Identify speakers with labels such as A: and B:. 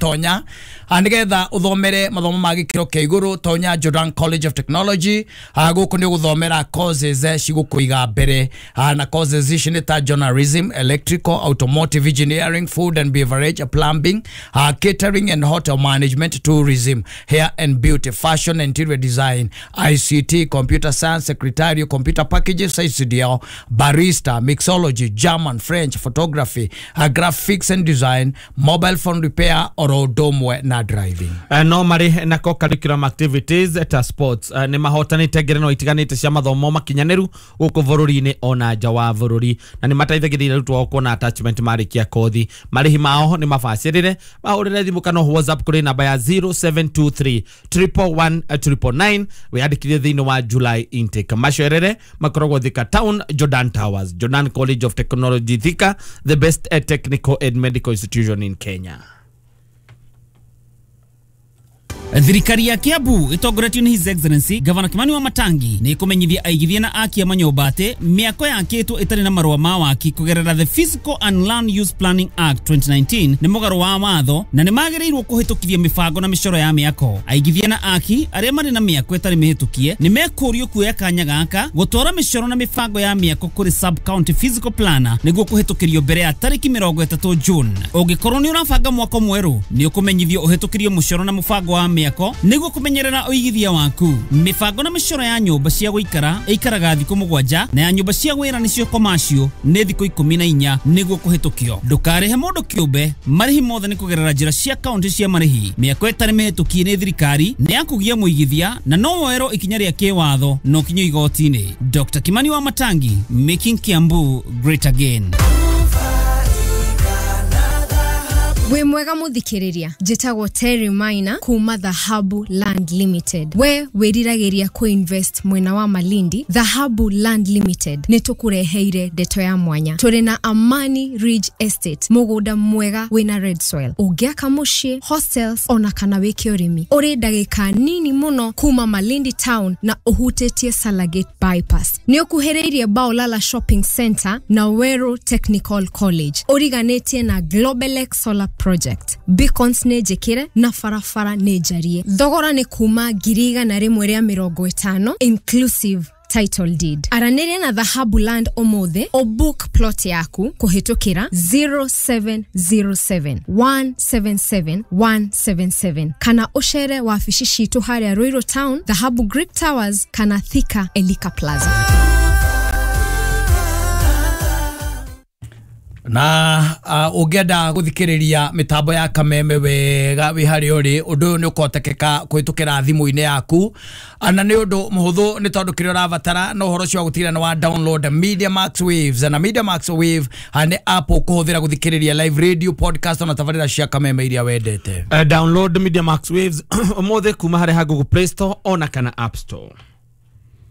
A: Tonya nigetha uthomere mathomo ma gikiro kia iguru. Tonya Jordan College of Technology. Guku ni guthomera courses cigukuiga mbere, na courses ici ni ta journalism, electrical, automotive engineering, food and beverage, plumbing, catering and hotel management, tourism, hair and beauty, fashion and interior design, ICT, computer science, secretarial, computer packages, ICDL, barista, mixology, German, French, photography, graphics and design, mobile phone repair, oro ũndũ na driving.
B: No marĩ na co-curriculum activities ta sports. Nĩ mahotanĩte ngerenwa itiganĩte cia mathomo makinyanĩru gũkũ bũrũri-inĩ ona nja wa bũrũri, na nĩ mateithagĩrĩria arutwo ao kuona attachment marĩkia kothi. Marĩhi mao nĩ mabacĩrĩre. Mahũrĩre thimũ kana WhatsApp kũrĩ namba ya 0723 111 999 wĩyandĩkithie thĩinĩ wa July intake. Macerere makoragwo Thika Town, Jordan Towers. Jordan College of Technology Thika, the best technical and medical institution in Kenya.
C: Thirikari ya Kiambu itongoretio ni His Excellency Governor Kimani wa Matangi ni ikumenyithia aigithia na aki a manyũmba atĩ mĩako yakĩtwo ĩtarĩ na marũa ma waki kũgerera the Physical and Land Use Planning Act 2019 nĩ mũgarũ wa watho na nĩ magĩrĩirwo kũhĩtũkithia mĩbango na mĩcoro ya mĩako. Aigithia na aki arĩa marĩ na mĩako ĩtarĩ mĩhĩtũkie nĩ mekũrio kuoya kanya gaka gũtwara mĩcoro na mĩbango ya mĩako kũrĩ sub county physical planner nĩguo kũhĩtũkĩrio mbere ya tarĩki 30 June. Ũngĩkorwo nĩ ũrabanga mwako mwerũ nĩ ũkũmenyithio ũhĩtũkĩrio mũcoro na mũbango wa mĩako nĩguo kũmenyerera ũigithia waku. Mĩbango na mĩcoro ya nyũmba cia gũikara ĩikaraga thikũ 7 na ya nyũmba cia wĩra nĩcio commercial nĩ thikũ 14 nĩguo kũhĩtũkio. Ndũkarĩhe mũndũ kĩũmbe, marĩhi mothe nĩ kũgerera njĩra cia kaunti cia marĩhi. Mĩako ĩtarĩ mĩhĩtũkie nĩ thirikari nĩ yakũgia mũigithia na no woerwo ikinya rĩa kĩwatho no kinyo igoti-inĩ. Dr. Kimani wa Matangi, making Kiambu great again.
D: Wĩ mwega mũthikĩrĩria, njĩtagwo Terry Maina kuma Dhahabu Land Limited. We wĩriragĩria kũ-invest mwena wa Malindi, Dhahabu Land Limited nĩ tũkũreheire ndeto ya mwanya. Tũrĩ na Amani Ridge Estate, mũgũnda mwega wĩna red soil. Ũngĩaka mũciĩ, hostels ona kana wĩke ũrĩmi. Ũrĩ ndagĩka nini mũno kuma Malindi town na ũhutĩtie Salagate bypass. Nĩ ũkuhĩrĩirie Baolala Shopping Center na Weru Technical College. Ũriganĩtie na Globelex Solar Project. Beacons nĩ njĩkĩre na barabara nĩ njarie. Thogora nĩ kuma 150,000 inclusive title deed. Aranĩria na Dhahabu Land ũmũthĩ ũbook plot yaku kũhĩtũkĩra 0707 177 177 kana ũcere wabici citũ harĩa Ruiru Town, Dhahabu Greek Towers kana Thika Elika Plaza.
A: Na ũngĩenda gũthikĩrĩria mĩtambo ya Kameme wega wĩ harĩa ũrĩ, ũndũ ũyũ nĩ ũkũhotekeka kũhĩtũkĩra thimũ-inĩ yaku, na nĩ ũndũ mũhũthũ nĩ tondũ kĩrĩa ũrabatara no ũhoro ũcio wa gũtigĩrĩra nĩ wa download Media Max Waves. Na Media Max Wave nĩ app ũkũhũthĩra gũthikĩrĩria live radio, podcast na tabarĩra cia Kameme iria wendete.
B: Download Media Max Waves ũmũthĩ kuma harĩa ha Google Play Store ona kana App Store.